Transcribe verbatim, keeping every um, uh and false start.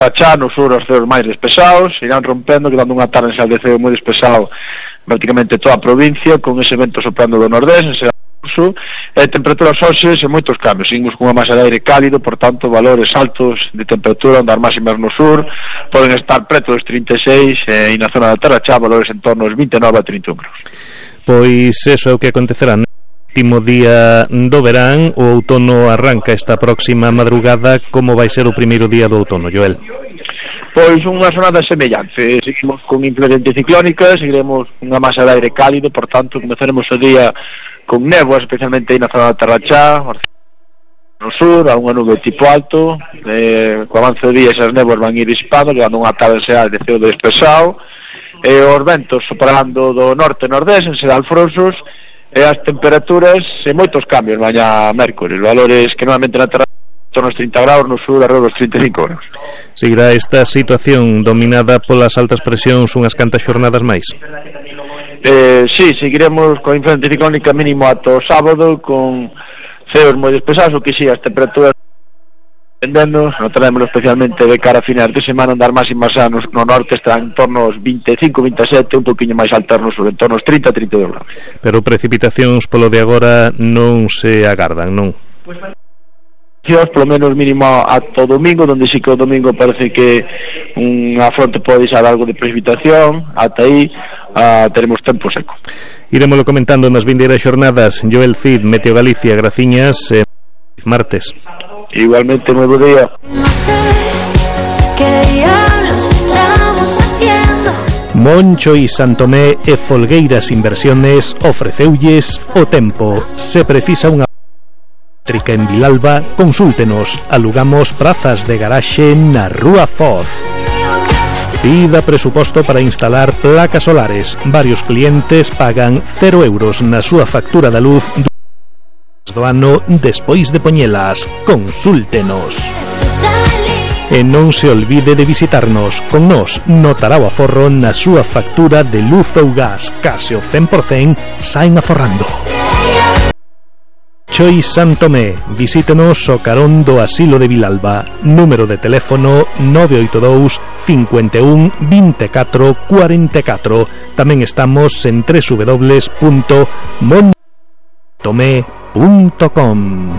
Xa no sur os ceos máis despesados irán rompendo, quedando unha tarde en de ceo moi despesado prácticamente toda a provincia, con ese vento soprando do nordés, ese sur, e temperaturas hoxe sen moitos cambios, seguimos con unha masa de aire cálido, por tanto valores altos de temperatura, onde as máximas no sur poden estar preto dos trinta e seis e na zona da Terra Chá valores en torno aos vinte e nove a trinta e un graus. Pois eso é o que acontecerá no último día do verán. O outono arranca esta próxima madrugada. Como vai ser o primeiro día do outono, Joel? Pois unha jornada semellante, seguimos con influencia anticiclónica, seguiremos unha masa de aire cálido, por tanto comezaremos o día con néboas, especialmente aí na zona da Terra Chá, no sur, a unha nube tipo alto, eh, co avance do día esas néboas van ir disipando, llegando unha tarde seal de ceo despesado, e os ventos soprando do norte e nordés, en xeral frosos, e as temperaturas en moitos cambios mañá mércores, valores que normalmente na Terra son os trinta graus, no sur arredor dos trinta e cinco graus. Seguirá esta situación dominada polas altas presións unhas cantas xornadas máis? Eh, sí, seguiremos con influencia anticiclónica mínimo ata o sábado, con ceos moi despesados, o que si, as temperaturas dependendo, notaremos especialmente de cara a finais de semana, andar máximas no, no norte estarán en torno aos vinte e cinco, vinte e sete, un poquinho máis alternos sobre en torno aos trinta, trinta e dos graus. Pero precipitacións polo de agora non se agardan, non? Polo menos mínimo ata o domingo, donde sí que o domingo parece que unha fronte pode deixar algo de precipitación, ata aí uh, teremos tempo seco. Iremoslo comentando nas vindeiras xornadas. Joel Cid, Meteo Galicia, graciñas, eh, martes. Igualmente, moi bo día. Moncho y Santomé e Folgueiras Inversiones ofreceulles o tempo. Se precisa unha eléctrica en Vilalba, consúltenos. Alugamos prazas de garaxe na Rúa Foz. Pida presuposto para instalar placas solares. Varios clientes pagan cero euros na súa factura da luz do ano despois de poñelas. Consúltenos. E non se olvide de visitarnos. Con nós notará o aforro na súa factura de luz ou gas. Case o cen por cen saen aforrando. Choi Santomé, visítenos o carón do Asilo de Vilalba. Número de teléfono nove oito dous, cinco un, vinte e catro, cuarenta e catro. Tamén estamos en doble u doble u doble u punto montomé punto com.